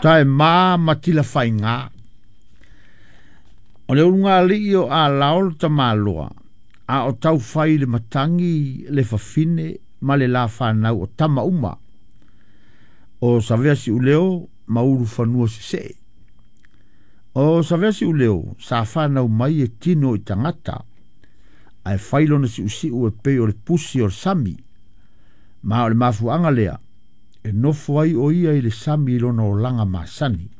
Tae ma ma tilafaiga. O le ulugalii o Alao le tamaloa, a o taufai le matagi le fafine ma le la fanau o tama uma. O Savea Siuleo ma Ulufanua Sesee. O Savea Siuleo sa fanau mai e tino i tagata, ae fai lona siusiu e pei o le pusi o le sami. Ma o le mafuaaga lea e nofo ai o ia i le sami i lona olaga masani.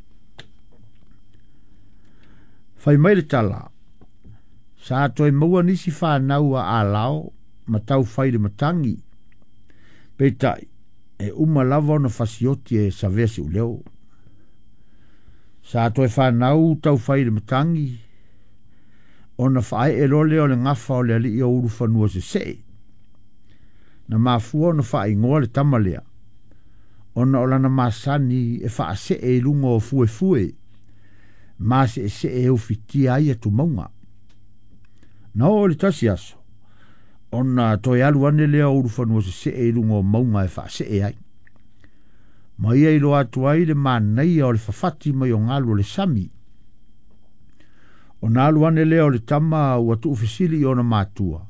Fai mai le tala, sa toe maua nisi fanau a Alao ma taufai le matagi. Peitai, e uma lava ona fasioti e Savea Siuleo. Sa toe fanau taufai le matagi, ona faaee loa lea o le gafa o le alii o Ulufanua Sesee. Na mafua ona faaigoa le tama lea, ona o lana masani e faasee i luga o fuefue, ma seesee e ufitia ai atumauga. Na oo i le tasi aso, ona toe alu ane lea o Ulufanua Sesee i luga o mauga e faasee ai. Ma ia iloa atu ai le manaia o le fafati mai o galu o le sami. Ona alu ane lea o le tama ua tuufesili i ona matua.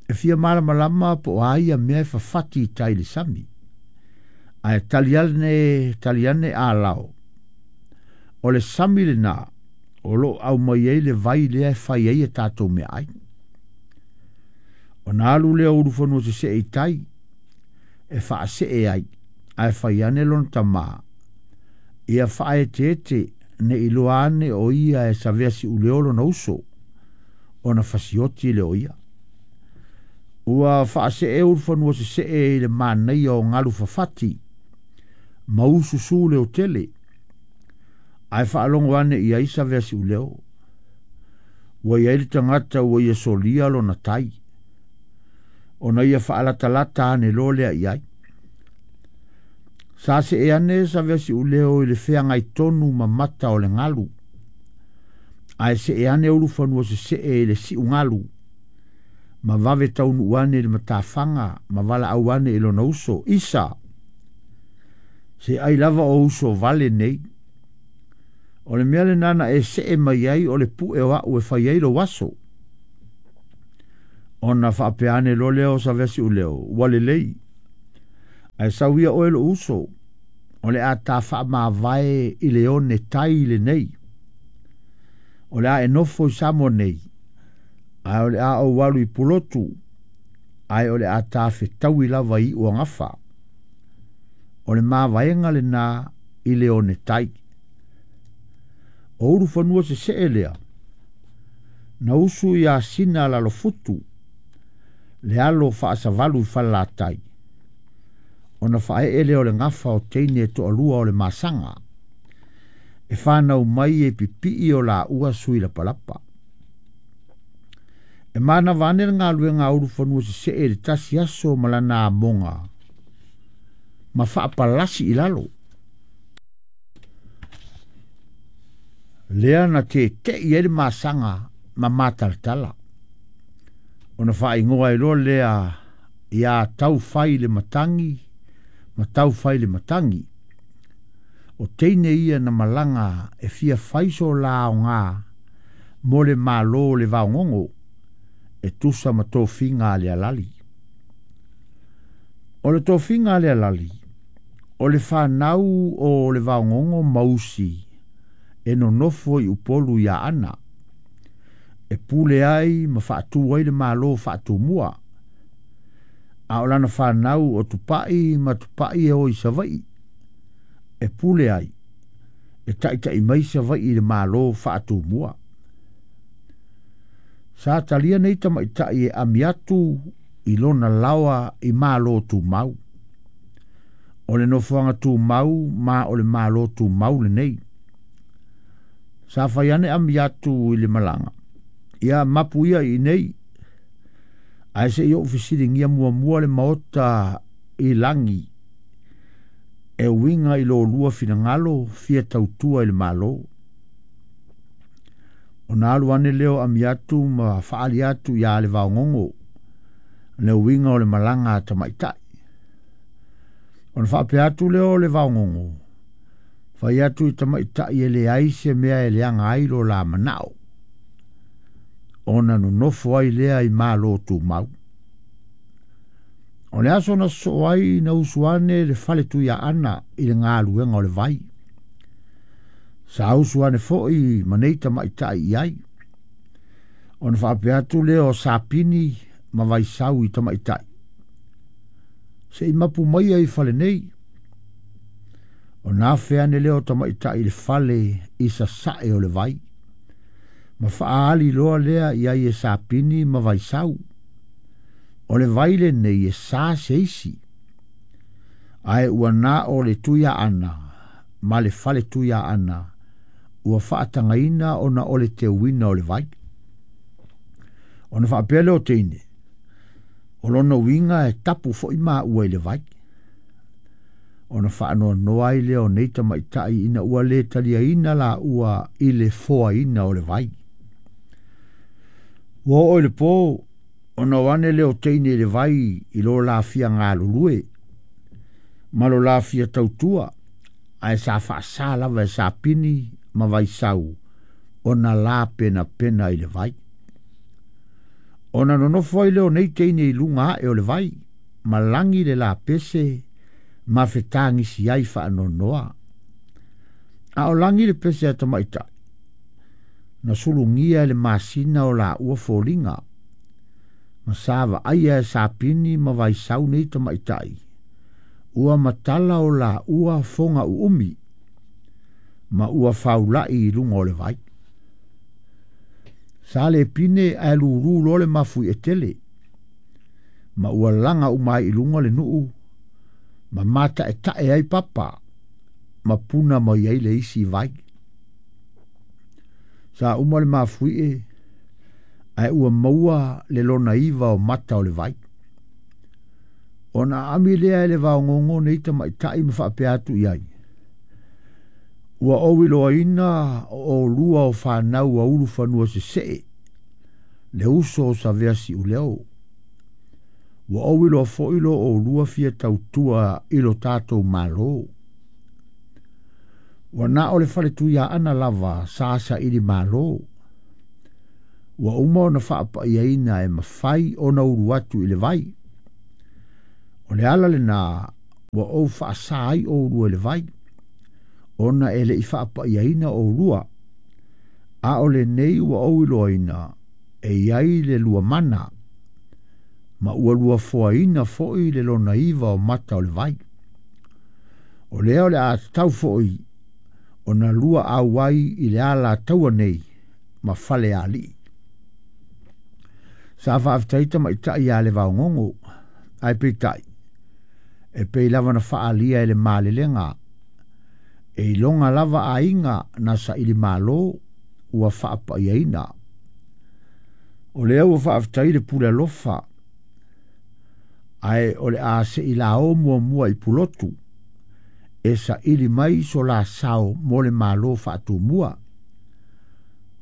E fia malamalama po o a ia mea e fafati i tai i le sami. Ae tali ane Alao. O le sami lena o loo aumai ai le vai lea e fai ai a tatou meaai. Ona alu lea o Ulufanua Sesee i tai e faasee ai, ae fai ane lona tamā ia faaeteete ne i loa ane o ia e Savea Siuleo lona uso, ona fasioti le o ia. Ua faasee Ulufanua Sesee i le manaia o galu fafati, ma ususu le otele, ae faalogo ane i ai Savea Siuleo. Ua i ai le tagata ua ia solia lona tai, ona ia faalatalata ane loa lea i ai. Sa see ane Savea Siuleo i le feagai tonu ma mata o le galu, ae see ane Ulufanua Sesee i le siu galu, ma vave taunuu ane i le matafaga ma valaau ane i lona uso, Isa, se ai lava o uso vale nei. O le mea lena na e see mai ai o le pue o au e fai ai lou aso. Ona faapea ane loa lea o Savea Siuleo, ua lelei. Ae sau ia oe lou uso, o le a ta faamavae i le one tai lenei. O le a e nofo i Samoa nei, ae o le a ou alu i Pulotu, ae o le a ta fetaui lava i Uagafa. O le mavaega lena i le one tai. O Ulufanua Sesee lea, na usu ia Sina Lalofutu, le alo faasavalu i Falelatai, ona faaee lea o le gafa o teine e toalua o le masaga, e fanau mai e pipii o laua sui lapalapa. E manava ane le galuega a Ulufanua Sesee i le tasi aso ma lana amoga, ma faapalasi i lalo. Lea na tete'i ai le masaga ma matalatala. Ona faaigoa ai loa lea ia taufai le matagi ma taufai le matagi. O teine ia na malaga e fia fai so la aoga mo le malo o le vaogogo e tusa ma tofiga a le alali. O le tofiga a le alali, o le fanau o le vaogogo mausi e nonofo i Upolu ia Ana, e pule ai ma faatu ai le malo faatumua. A o lana fanau o Tupai ma Tupai e o i Savaii, e pule ai, e taitai mai Savaii i le malo faatumua. Sa talia nei tamaitai e ami atu i lona laoa i malo tumau. O le nofoaga tumau ma o le malo tumau lenei. Sa fai ane ami atu i le malaga, ia mapu ia i nei, ae se i ou fesiligia muamua le maota i lagi, e uiga i lōlua finagalo fia tautua i le malo. Ona alu ane lea o ami atu ma faali atu ia le vaogogo, le uiga o le malaga a tamaitai. Ona faapea atu lea o le vaogogo, Fai atu i tamaitaʻi e leai se mea e leaga ai lo la manaʻo ona nonofo ai lea i malo tumau. O le aso na sosoo ai na usu ane le fale Tuiaana i le galuega o le vai. Sa usu ane foʻi ma nei tamaitaʻi i ai. Ona faapea atu lea o Sapini ma Vaisau i tamaitaʻi. Se i mapu maia i fale nei. Ona afe ane lea o tamaitaʻi i le fale i sasae o le vai. Ma faaali loa lea i ai e Sapini ma Vaisau. O le vai lenei e sa se isi. Ae ua na o le Tuiaana ma le fale Tuiaana ua faatagaina ona o le teuina o le vai. Ona faapea lea o teine, o lona uiga e tapu foʻi maua i le vai. Ona faanoanoa ai lea o nei tamaitaʻi ina ua lē taliaina laua i le foaina o le vai. Ua oo i le pō, ona o ane lea o teine i le vai i lo lafia galulue, ma lo lafia tautua, ae sa faasā lava e Sapini ma Vaisau ona la penapena i le vai. Ona nonofo ai lea o nei teine i luga ae o le vai, ma lagi le lapese ma fetagisi ai faanoanoa. A o lagi le pese a tamaitaʻi, na sulugia e le masina o laua foliga, ma sa vaaia e Sapini ma Vaisau nei tamaitaʻi, ua matala o laua foga uumi, ma ua faulaʻi i luga o le vai. Sa le pine ae lūlū loa le mafui e tele, ma ua laga uma ai i luga le nuu, ma mataʻetaʻe ai papa, ma puna mai ai le isi vai. Sa uma le mafuie, ae ua maua le lona iva o mata o le vai. Ona aami lea e le vaogogo nei tamaitaʻi ma faapea atu i ai. Ua ou iloaina o olua o fanau a ulufanua sesee, le uso o Savea Siuleo. Ua ou iloa foʻi lo olua fia tautua i lo tatou malo. Ua na o le fale Tuiaana lava sa saili malo. Ua uma ona faapaiaina e mafai ona ulu atu i le vai. O le ala lena ua ou faasā ai oulua i le vai, ona e leʻi faapaiaina oulua. A o lenei ua ou iloaina e iai le lua mana, ma ua lua foaina foʻi le lona iva o mata o le vai. O lea o le a tatau foʻi ona lua auai i le ala taua nei ma fale alii. Sa faafetai tamaitaʻi iā le vaogogo, ae peitai, e pei lava na faalia e le malelega, e iloga lava aiga na saili malo ua faapaiaina. O lea ua faafetai le pule alofa, ae o le a seʻi lao muamua i Pulotu, e saili mai so la sao mo le malo faatumua.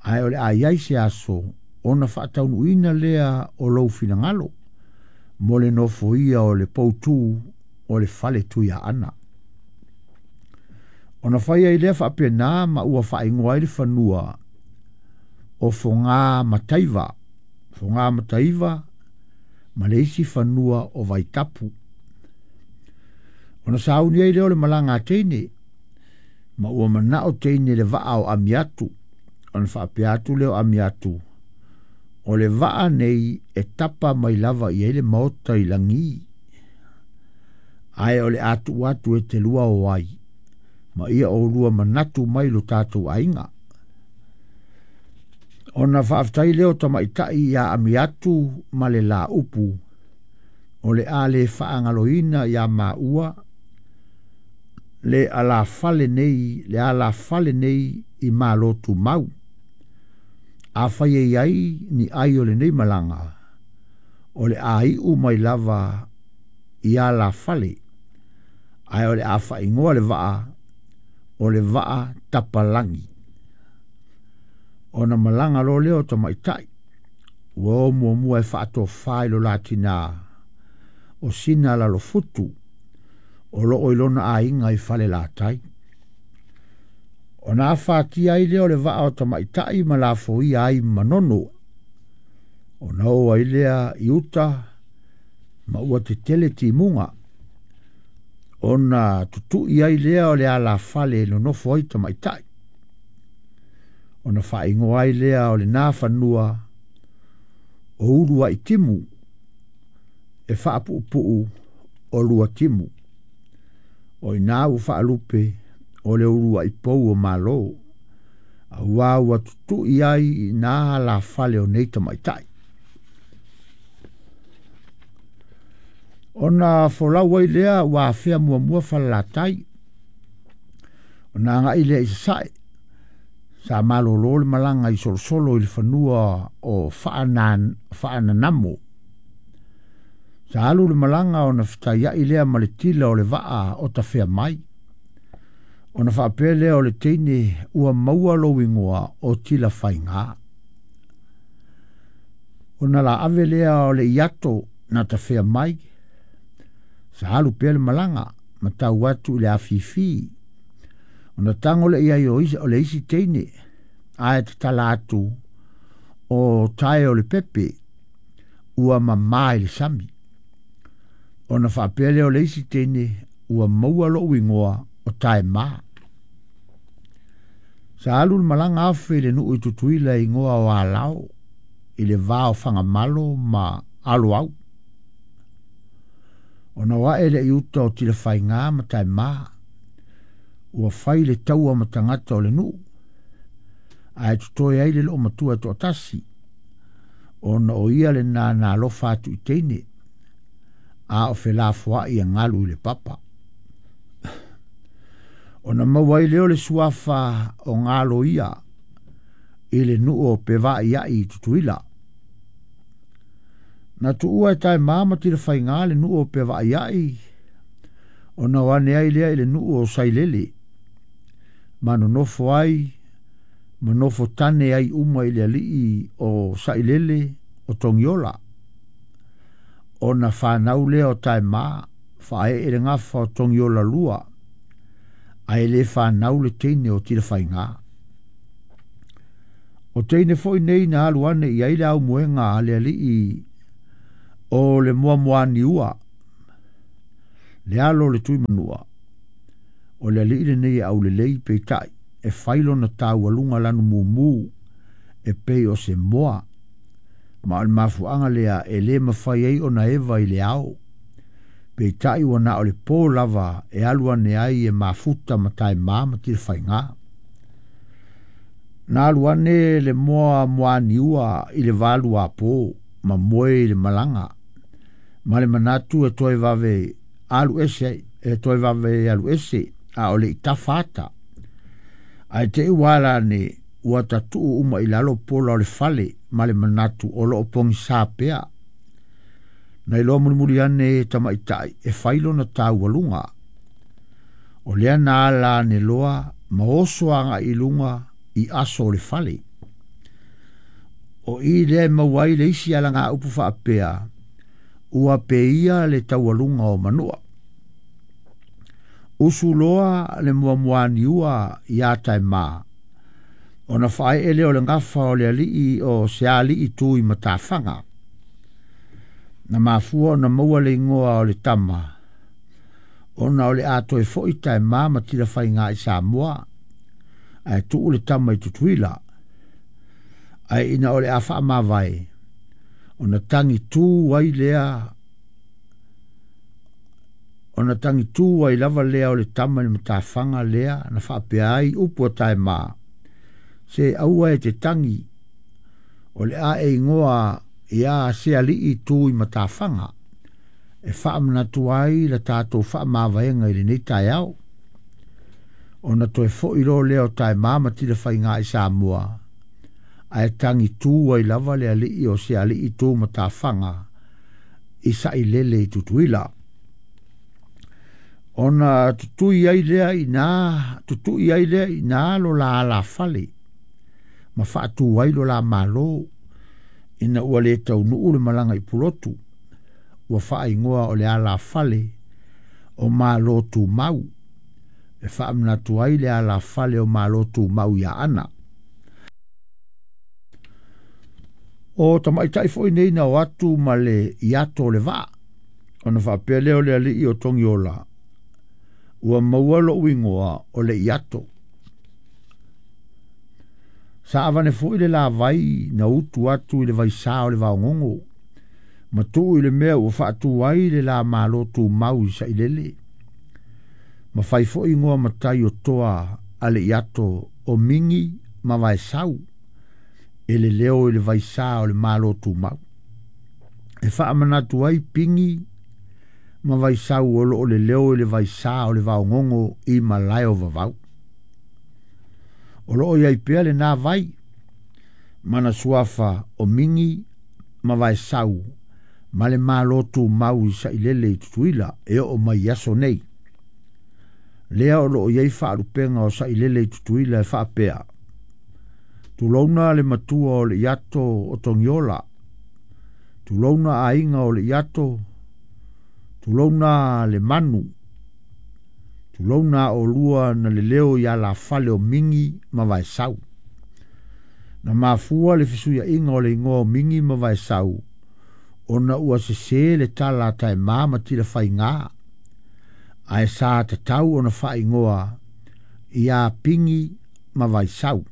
Ae o le a iai se aso ona faataunuuina lea o lou finagalo, mo le nofoia o le poutū o le fale Tuiaana. Ona fai ai lea faapena ma ua faaigoa ai le fanua o Fogā Mataiva, Fogā Mataiva ma le isi fanua o Vaitapu. Ona sauni ai lea o le malaga a teine, ma ua manao teine le vaa o Amiatu. Ona faapea atu lea o Amiatu, o le vaa nei e tapa mai lava i ai le maota i lagi. Ae o le atu atu e te lua o ai, ma ia o lua manatu mai lo tatou aiga. Ona faafetai lea o tamaitaʻi iā Amiatu ma le laupu, o le a le faagaloina iā maua le alafale nei, le alafale nei i malo tumau. A fai e iai ni ai o lenei malaga, o le a iu mai lava i alafale, ae o le a faaigoa le vaa, o le vaa tapalagi. Ona malaga loa lea o tamaitaʻi, ua o muamua e faatofā i lo latinā, o sina lalofutu, o loo i lona aiga i fale latai. Ona afatia ai lea o le vaa o tamaitai ma lafoia ai Manono. Ona oo ai lea i uta ma ua tetele timuga. Ona tutui ai lea o le alafale e nonofo ai tamaitai. Ona faaigoa ai lea o lena fanua o ulu ai timu e faapuupuu o lua timu. O ina ua faalupe o le ulu ai pou o malo. Auā ua tutui ai i na alafale o nei tamaitai. Ona folau ai lea ua afea muamua Falelatai. Ona agai lea i Sasae. Sa malolo le malaga i solosolo i le fanua o Faananamo. Sa alu le malaga ona fetaiai lea ma le tila o le vaa o tafea mai. Ona faapea lea o le teine ua maua lou igoa o tila faiga. Ona la ave lea o le iato na tafea mai. Sa alu pea le malaga ma tau atu i le afifi. Ona tago le iai o le isi teine ae tatala atu o tae o le pepe ua mamā i le sami. Ona faapea lea o le isi teine ua maua lou igoa o tae mā. Sa alu le malaga afe i le nuu i Tutuila i igoa o Alao i le va o Fagamalo ma Aloau. Ona oae le i uta o Tilafaiga ma tae mā. Ua fai le taua ma tagata o le nuu. Ae totoe ai le loo matua e toatasi. Ona o ia le nana alofa atu i teine. A o felafoai e galu i le papa. Ona maua ai lea o le suafa o galo ia i le nuu o Pevaaiai i Tutuila. Na tuua e tae mā ma Tilafaiga le nuu o Pevaaiai. Ona o ane ai lea i le nuu o Sailele. Ma nonofo ai, ma nofo tane ai uma i le alii o Sailele o Togiola. Ona whanau lea o tae mā, whae e le gafa o Togiola lua, ae le whanau le teine o Tilafaiga. O teine foi nei na alu ane i ai le au moenga a le alii o le muamuaniua, le alo o le tuimanua. O le alii lenei e aulelei peitai, e whailo na taualuga lanu mumu, e pei o se moa. Ma o le mafuaaga lea e lē mafai ai ona eva i le ao. Peitai ua na o le pō lava e alu ane ai e mafuta ma tae mā ma Tilafaiga. Na alu ane le moa muaniua i le valu apō, ma moe i le malaga. Ma le manatu e toe vave alu ese, e toe vave alu ese, a o le i tafa ata. Ae te i ua ala ane, ua tatuu uma i lalo pola o le fale, ma le manatu o loo pogisā pea. Na iloa mulimuli ane e tamaitai, e fai lona taualuga. O lea na ala ane loa, ma oso agai i luga i aso o le fale. O i lea e maua ai le isi alaga upu faapea, ua peia le taualuga o manua. Usu loa le muamuaniua ia tae mā. Ona whae ele o le gafa o le alii o se alii tu i matafaga. Na mafua ona maua le ingoa o le tama. Ona o le a toe foi tae mā ma Tilafaiga i Samoa. Ae tuu le tama i Tutuila. Ae ina o le a faamavae. Ona tangi tū ai lea. Ona tangi tū ai lava lea o le tama i le matafaga lea na faapea ai upu a tae mā. Se aua e te tangi o le a e ingoa ia se alii tu i matafaga. E faamanatu ai la tatou faamavaega i lenei taeao. Ona toe foi loa lea o tae mā ma Tilafaiga i Samoa. Ae tangi tū ai lava le alii o se alii tu matafaga i Sailele i Tutuila. Ona tutui ai lea i nā, tutui ai lea i nā lo la alafale. Ma faatu ai lo la malo ina ua le taunuu le malaga i Pulotu. Ua faaigoa o le alafale o malo tumau. E e faamanatu ai le alafale o Malo Tumau i Aana. O tamaitai foi nei na o atu ma le iato o le vaa, ona faapea lea o le alii o Togiola, ua maua lou igoa o le iato. Sa avane foi le lavai na utu atu i le vaisā o le vaogogo, ma tuu i le mea ua faatu ai le la Malo Tumau i Sailele. Ma fai foi igoa matai o toa a le iato o Mingi ma Vaesau, e le leo i le vaisā o le Malo Tumau. E faamanatu ai Pingi ma Vaisau o loo le leo i le vaisā o le vaogogo i malae o Vavau. O loo iai pea lenā vai, mana suafa o Mingi ma Vaesau ma le Malo Tumau i Sailele i Tutuila e oo mai i aso nei. Lea o loo iai faalupega o Sailele i Tutuila e faapea, tulouna le matua o le iato o Togiola, tulouna aiga o le iato, tulouna le manu, tulouna olua na le leo i alafale o Mingi ma Vaesau. Na mafua le fesuiaiga o le igoa o Mingi ma Vaesau, ona ua sesē le tala a Taemā ma Tilafaigā, ae sa tatau ona faaigoa iā Pingi ma Vaisau.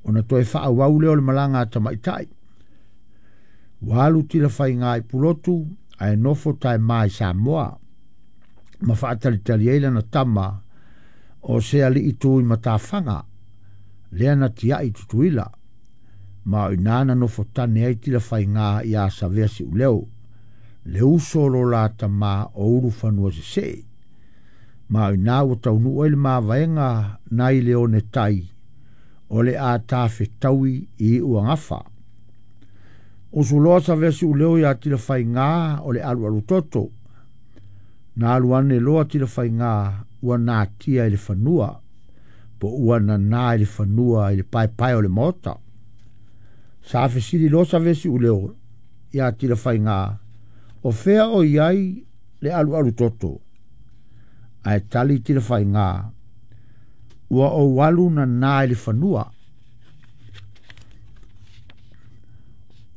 Ona toe faaauau lea o le malaga a tamaitai. Ua alu Tilafaigā i Pulotu, ae nofo Taemā i Samoa, ma faatalitali ai lana tama o se alii tu i matafaga, lea na tiai i Tutuila, ma o inā na nofo tane ai Tilafaigā iā Savea Siuleo, le uso o lo la tamā o Ulufanua Sesee, ma o inā ua taunuu ai le mavaega nai le one tai o le a tafetaui i Iuagafa. Usuloa Savea Siuleo iā Tilafaigā o le alualu toto, na alu ane loa Tilafaigā ua natia i le fanua, po ua nanā i le fanua i le paepae o le maota. Sa fesili loa Savea Siuleo iā Tilafaigā, o fea o i ai le alualu toto, ae tali Tilafaigā, ua ou alu nanā i le fanua.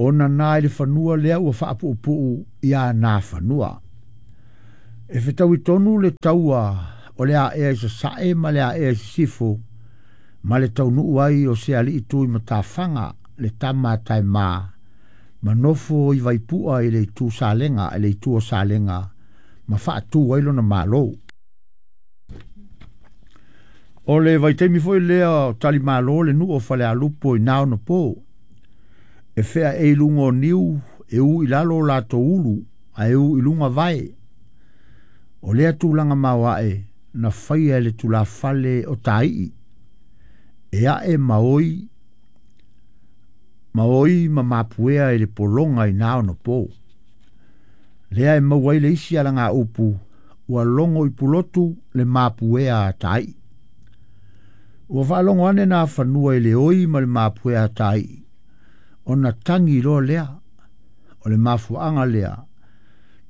O nanā i le fanua lea ua faapuupuu iā nā fanua. E fetaui tonu le taua o le aea i sasae ma le aea i sisifo, ma le taunuu ai o se alii tu i matafaga le tama a Taemā, ma nofo i Vaipua i le itu Salega, i le itu o Salega, ma faatu ai lona Malo. O le vaitaimi foi lea o talimalo le nuu o Falealupo i na ona po, e fea e i luga o niu, e u i lalo o latou ulu, ae u i luga vae. O lea tulaga maoae na faia e le tulafale o Taii, e ae ma oi ma oi ma mapuea i le pologa i na ona po. Lea e maua ai le isi alagaupu, ua logo i Pulotu le mapuea a Taii. Ua faalogo ane nā fanua i le oi ma le mapuea a Taii, ona tagi loa lea, o le mafuaaga lea,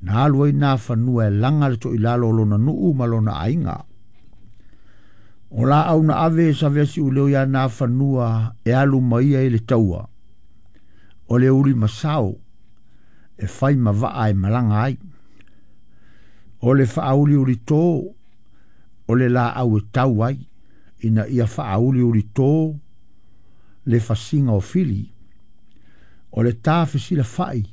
na alu ai nā fanua e laga le toilalo o lona nuu ma lona aiga. O laau na ave e Savea Siuleo iā nā fanua e alu mai ai le taua, o le uli masao e fai ma vaa e malaga ai. O le faauliuli tō, o le laau e tau ai, ina ia faauliuli tō le fasiga o fili. O le tā fesilafai,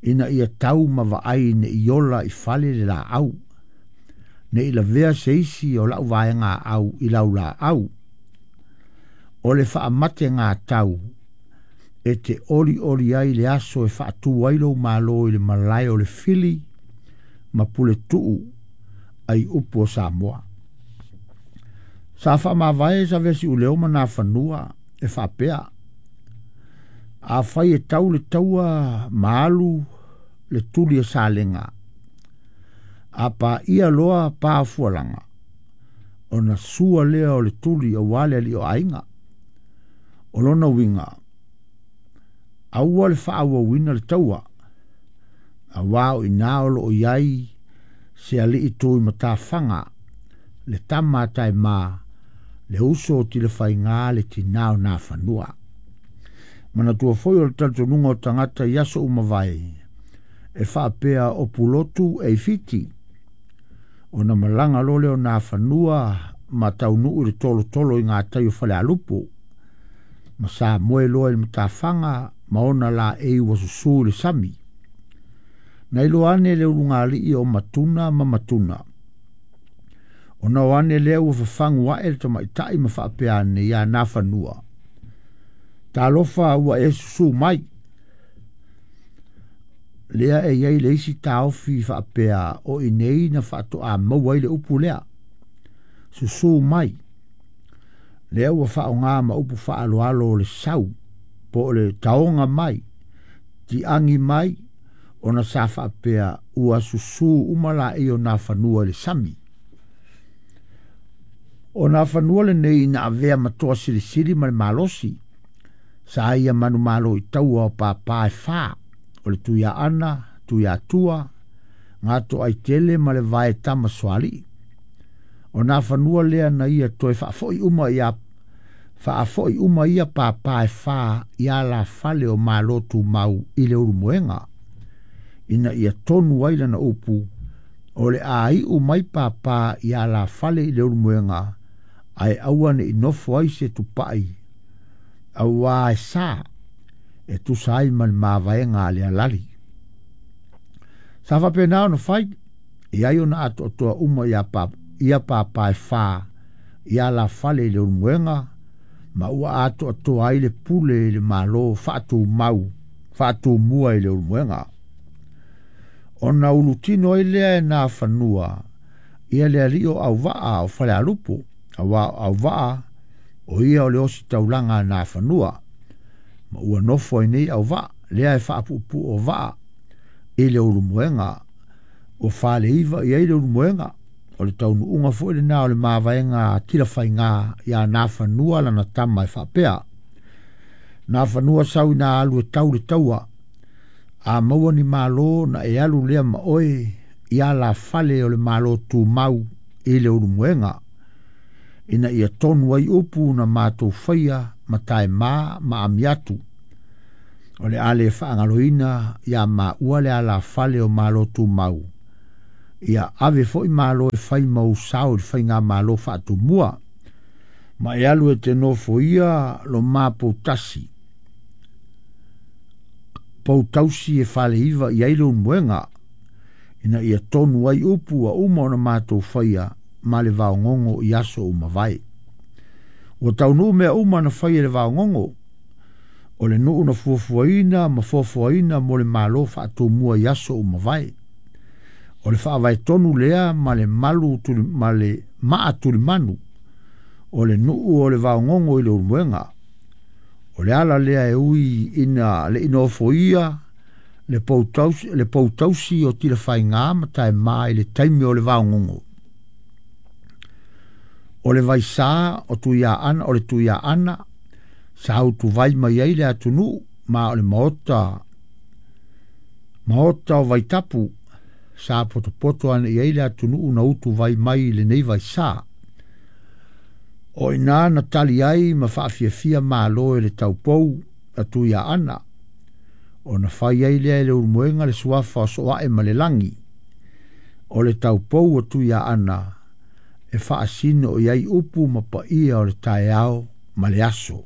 ina ia tau ma vaai nei ola i fale le laau, nei lavea se isi o lau vaega au i lau laau. O le faamate ngā tau, e te oli oli ai le aso e faatu ai lou malo i le malae o le fili ma pule tuu ai upu o Samoa. Sa faamavae Savea Siuleo ma nā fanua e faapea, a fai e tau le taua ma alu le tuli e Salega, a paia loa pa fualaga, ona sua lea o le tuli auā le alii o aiga. O lona uiga, aua le faaauauina le taua, auā o inā o loo i ai se alii tu i matafaga, le tama a Taema, le uso o Tilafaiga le tinā o Nafanua. Manatua foi o le talitonuga o tagata i aso uma vae, e faapea o Pulotu e i Fiti. Ona malaga loa lea o Nafanua ma taunuu i le tolotolo i gatai o Falealupo, ma sa moe loa i le matafaga ma ona laei ua susū i le sami. Na iloa ane le ulugalii o Matuna ma Matuna. Ona o ane lea ua fafagu ae le tamaitai ma faapea ane ia Nafanua. Talofa ua e susū mai. Lea e iai le isi taofi faapea o i nei na faatoa maua ai le upu lea. Susū mai. Lea ua faaaoga ma upu faaaloalo o le sau, po o le taoga mai, tiagi mai, ona sa faapea ua susū uma laei o Nafanua i le sami. O Nafanua lenei ina avea ma toa silisili ma le malosi, sa ia manumalo i taua o pāpā e whā, o le Tuiaana, Tuiatua, Gatoaitele ma le vae tama Soalii. O Nafanua lea na ia toe faafoi uma ia faafoi uma ia pāpā e whā i ala fale o Malo Tumau i le Ulumoega. Ina ia tonu ai lana upu, o le aiu mai pāpā i ala fale i le Ulumoega, ae aua ne i nofo ai se tupai, auā e sa, e tusa ai ma le mavaega a le alali. Sa faapena ona fai, e ai ona atoatoa uma ia pāpā e whā i ala fale i le Ulumoega, ma ua atoatoa ai le pule i le malo faatumau, faatumua i le Ulumoega. Ona ulutino ai lea e Nafanua, ia le alii o Auvaa o Falealupo, auā o Auvaa o ia o le osi taulaga a Nafanua, ma ua nofo ai nei Auvaa, lea e faapuupuu o vaa i le Ulumoega, ua faleiva i ai le Ulumoega, o le taunuuga foi lena o le mavaega a Tilafaiga ia Nafanua lana tama e faapea. Nafanua sau ina alu e tau le taua, a maua ni malo na e alu lea ma oe i ala fale o le malo tumau i le Ulumoega, ina ia tonu ai upu na matou faia ma Taema ma Amiatu. O le ale faagaloina ia maua le ala fale o malo tumau, ia ave foi malo e fai mau sao i le faiga malo faatumua, ma e alu e te nofo ia lo mapou tasi, pou tausi e faleiva i ai le Ulumoega, ina ia tonu ai upu ua uma ona matou faia ma le vaogogo i aso uma vae. Ua taunuu mea uma na fai e le vaogogo, o le nuu na fuafuaina ma foafoaina mo le malo faatumua i aso uma vae. O le faavaetonu lea ma le malu tuli, ma le maa tulimanu, o le nuu o le vaogogo i le Ulumoega. O le ala lea e ui ina le inofoia le poutausi o Tilafaiga ma Taema i le taimi o le vaogogo. O le vaisā o Tuiaana, o le Tuiaana, sa utuvai mai ai le atunuu, ma o le maota o Vaitapu, sa potopoto ane i ai le atunuu na utuvai mai i lenei vaisā. O ina na tali ai ma faafiafia malo e le taupou a Tuiaana, ona fai ai lea e le Ulumoega le suafa o Soae ma le lagi. O le taupou a Tuiaana e faasino i ai upu ma paia o le taeao ma le aso.